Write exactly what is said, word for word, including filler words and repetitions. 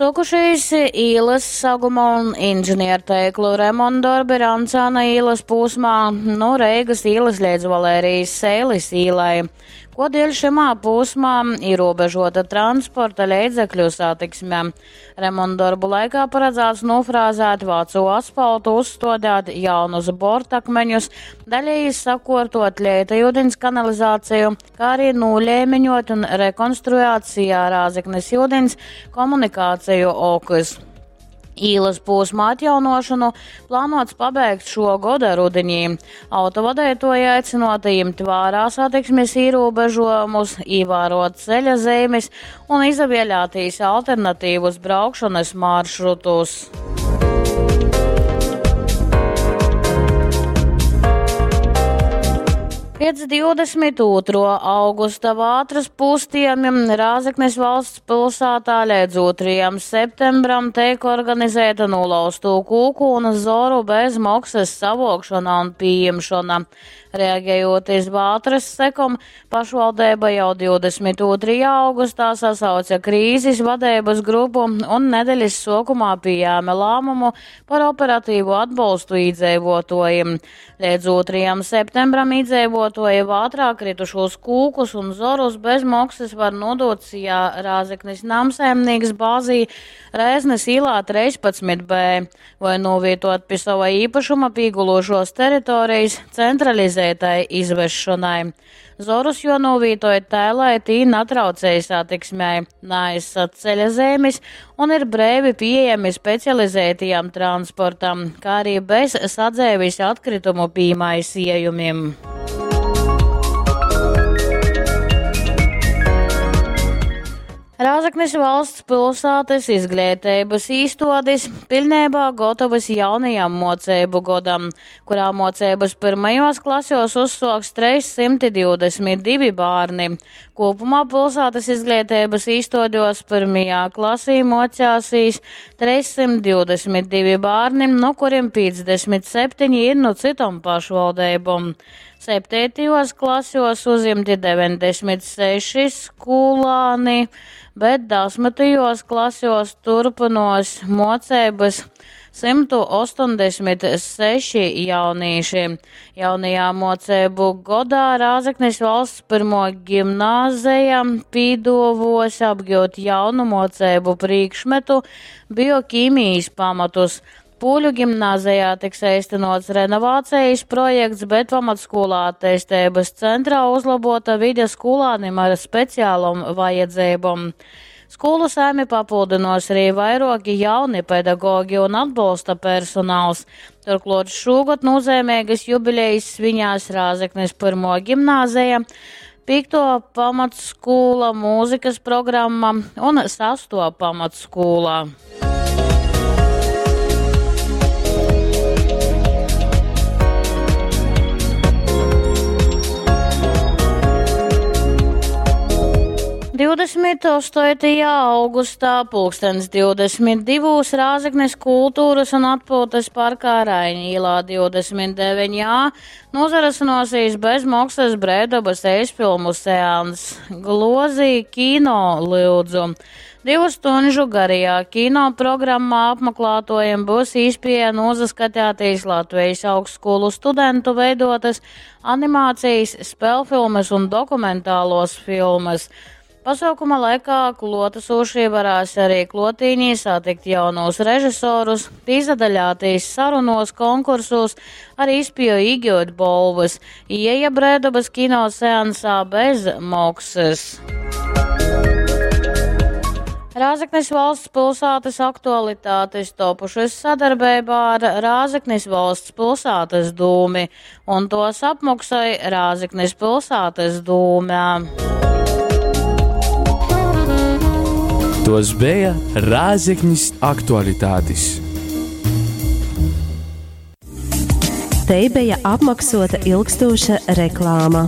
Suokušīs īlys saguma un inženierteiklu remontdorbi Rancāna īlys pūsmā nu Reigys īlys leidz Valērijas Seilis īlai. Kuodieļ šymā pūsmā īrūbežuota transporta leidzekļu satiksme. Remontdorbu laikā paradzāts nūfrāzēt vacu asfaltu, uzstuodēt jaunus bortakmeņus, daļēji sakuortuot leita iudiņs kanalizāciju, kā arī nūleimiņuot un rekonstruēt SIA Rāzeknes iudiņs komunikāciju okys. Īlas posma atjaunošanu plānots pabeigt šo goda rudenī. Autovadētoji aicināti ņemt vērā satiksmes ierobežojumus, ievērot ceļa zīmes un izvēlēties alternatīvus braukšanas maršrutus. Pēc divdesmit otrā augusta vātras pūstījumiem Rāzeknes valsts pilsētā līdz otrajam septembram tiek organizēta nolauzto kūku un zoru bez maksas savokšana un pieņemšana. Reaģējot iz vātras sekom, pašvaldība jau divdesmit otrajā augustā sasauca krīzes vadības grupu un nedēļas sokumā pieņēma lēmumu par operatīvu atbalstu iedzīvotājiem. Līdz otrajam septembram iedzīvotāji vātrā kritušos kūkus un zorus bez maksas var nodot SIA Rāzeknes namsaimnieks bāzī Rēznes īlā trīspadsmit B vai novietot pie sava īpašuma pīgulošos teritorijas centralizētai izvešanai. Zorus jo novītoja tā, lai tī natraucēja satiksmei, neaizsat ceļa zīmes un ir brēvi pieejami specializētajam transportam, kā arī bez sadzēvis atkritumu pīmaisījumiem. Rāzeknes valsts pilsētas izglītības īstodis pilnībā gatavas jaunajam mocību godam, kurā mocības pirmajos klasos uzsoks trīs simti divdesmit divi bērni. Kopumā pilsētas izglītības īstodos pirmajā klasī mocāsīs trīs simti divdesmit divi bērni, no kuriem piecdesmit septiņi ir no citom pašvaldībom. Septītajos klasos uzimti deviņdesmit seši skolāni, bet desmitajos klasos turpinos mocības simtu astoņdesmit seši jaunieši. Jaunajā mocību godā Rāzeknes valsts pirmo gimnāzeja pīdovos apgūt jaunu mocību priekšmetu bioķīmijas pamatus. Pūļu gimnāzijā tiks īstenots renovācijas projekts, bet pamatskolā attīstības centrā uzlabota vide skolānim ar speciālom vajadzībom. Skolu saimi papildinos arī vairoki jauni pedagogi un atbalsta personāls. Turklāt šogad nozīmīgas jubilejas svinās Rāzeknes pirmo gimnāzija, piekto pamatskola mūzikas programma un sesto pamatskola. Divdesmit astotajā augustā pulkstens divdesmit divos Rāzeknes kultūras un atpūtas parkā Raiņa ielā divdesmit deviņi A nozarasinosīs bez maksas brēdabas eisfilmu seans. Glozī kino lūdzu. Divu stunžu garajā kino programmā apmeklētojiem būs īspēja nozaskatīties Latvijas augstskolu studentu veidotas animācijas, spēlfilmas un dokumentālos filmas. Pasaukuma laikā klotasošie varēs arī klotīņī satikt jaunos režisorus, pīzadaļātīs sarunos, konkursos, arī izpēju iegūt bolvas. Ieja Brēdabas kino seansā bez maksas. Rāzeknes valsts pilsētas aktualitātes topušas sadarbībā ar Rāzeknes valsts pilsētas dūmi, un tos apmaksāja Rāzeknes pilsētas dūmē. Tos bija Rāzeknis aktualitātes. Te bija apmaksota ilgstoša reklāma.